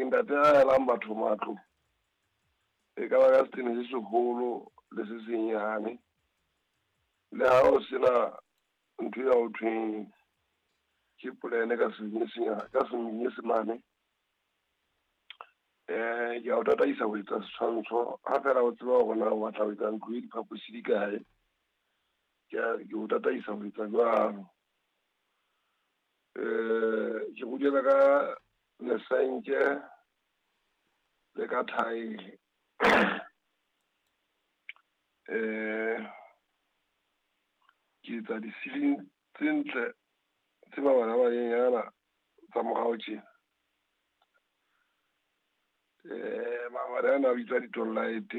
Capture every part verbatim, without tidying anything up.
Ke ntate a helang batho matlo. E ka ba ka setene se seholo le se senyane. Le ha o sena ntho ya ho thweng ke polene ka senyesemane, ka senyesemane. Eh, ke a o tataisa ho etsa setshwantsho ha fela o tseba hore na o batla ho etsa ntlo e diphaposi di kae. Ke a ke o tataisa ho etsa jwalo. Eh, ke rutela ka lesenke le ka thaele. Eh, ke etsa di-ceiling tse ntle tse mabalabaleng tsa morao tjena. Eh, mabone ana a bitswa di-light.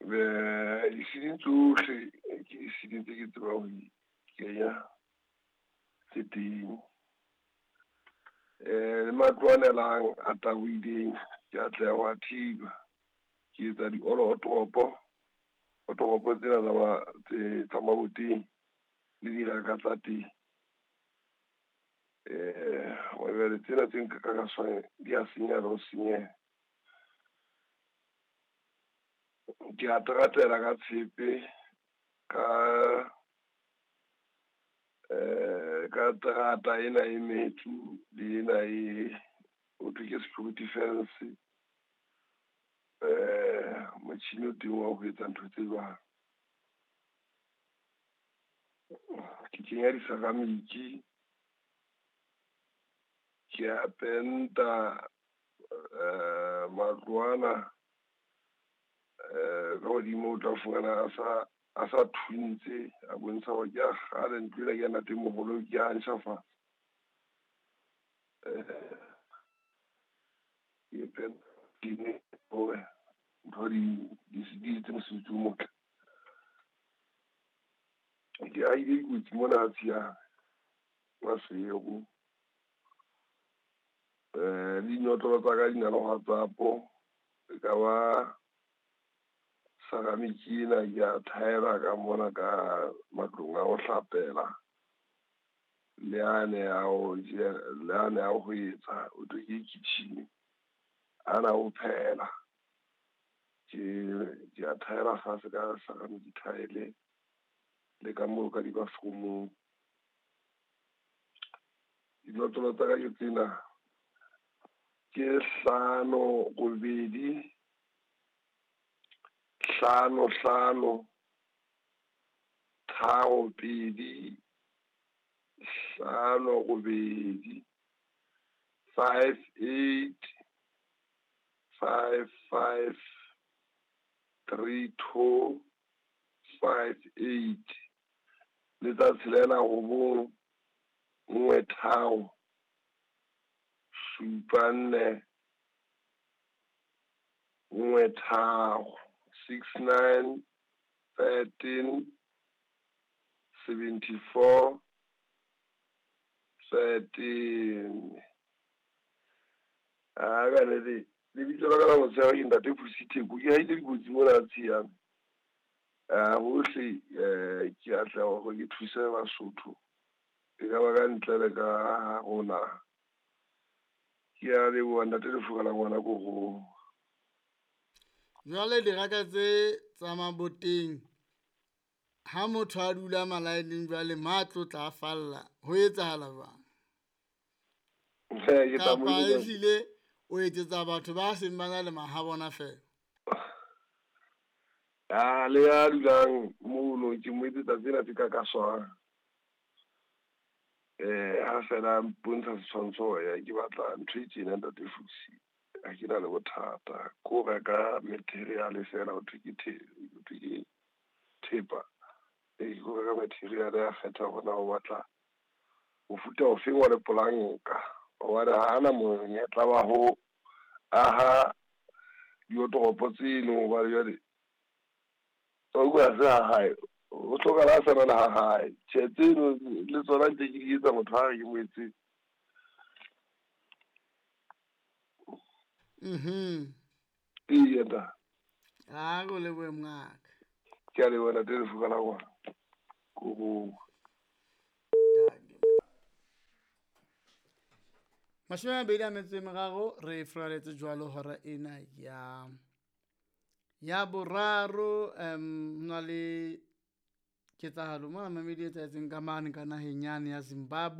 Eh, di-ceiling tsohle ke di-ceiling tse ke tsebang ho di kenya tse teng. Eh, le matlo a nelang a tabohileng ke atleha ho a thiba. Ke etsa di-all-o otoropo tsena tsa tsa maboteng le diraka tsa teng. Eh, jwale tsena tse nka ka swane di a senyeha le ho senyeha. Ke a teratela ka tshepe ka eh ka terata ena e metsu le ena e ho thwe ke security fence. Eh, motjhini o teng wa ho etsa ntho tse jwalo. Ke kenya di-ceramic, ke a penta eh matlo ana eh ka hodimo o tla fumana a sa a sa thuntse, a bontsha hore ke a kgale ntlo ena ke ya ntatemoholo ke a ntjhafatsa. Eh, ke penta hore ntho di di di etse mosebetsi o motle. Ke ahile dikotsi mona Tshiya Maseru. Eh, le dinotlolo tsa ka di na le WhatsApp. E ka ba ceramic ena ke a thaela ka mona ka matlong a ho hlapela. Le ane a ho le ane a ho etsa ho thwe ke kitchen, ana ho phehela. Ke ke a thaela fatshe ka ceramic tile le ka moo ka di-bathroom-ong. Dinotlolo tsa ka ke tsena, ke hlano robedi hlano hlano tharo pedi hlano robedi five eight five five three two five eight. Le tsa tshelela robong nngwe tharo supa nne nngwe tharo six nine thirteen seventy four thirteen. Ah, ka nnete lebitso la ka la motshehare ke ntate Pusi Theko. Ke haile dikotsi mona Tshiyane. Ah, hohle eh ke atleha hore ke thuse Basotho. E ka ba ka ntle le ka rona. Ke a leboha ntate Lefuka la ngwana korong. Jwale diraka tse tsa maboteng ha motho a dula malaeneng jwale matlo tla falla ho etsahala jwang? Eh, ke tla mo Kapa eletsa- ehlile o etsetsa batho ba seng ba na le mahabona feela? Ah, le ya dulang mono ke mo etsetsa tsena tse ka kaswang. Eh, ha fela mpontsha setshwantsho ya ke batla ntho e tjena ntate Fusi. Ha ke na le bothata. Ko reka material fela ho thwe ke the, ho thwe ke thepa. Eh, ko reka material ya kgetha hore na o batla mofuta ofeng wa lepolanka. Hobane ha ana monyetla wa ho aha diotoropo tseno hobane jwale o bua se ha hae, o hlokahala a sa na le ha hae. Tjhe, tseno le tsona ntse ke di etsa motho ha re ke mo etsetse. Mhm. Eya ntate. Ha go lebohe mongaka. Ke a leboha ntate Lefuka la ngwana. Korong. Mashome a mabedi a metso e meraro re furaletse jwalo hora ena ya ya boraro. Um ho na le ketsahalo mona mamedi e etsahetseng ka mane ka naheng yane ya Zimbabwe.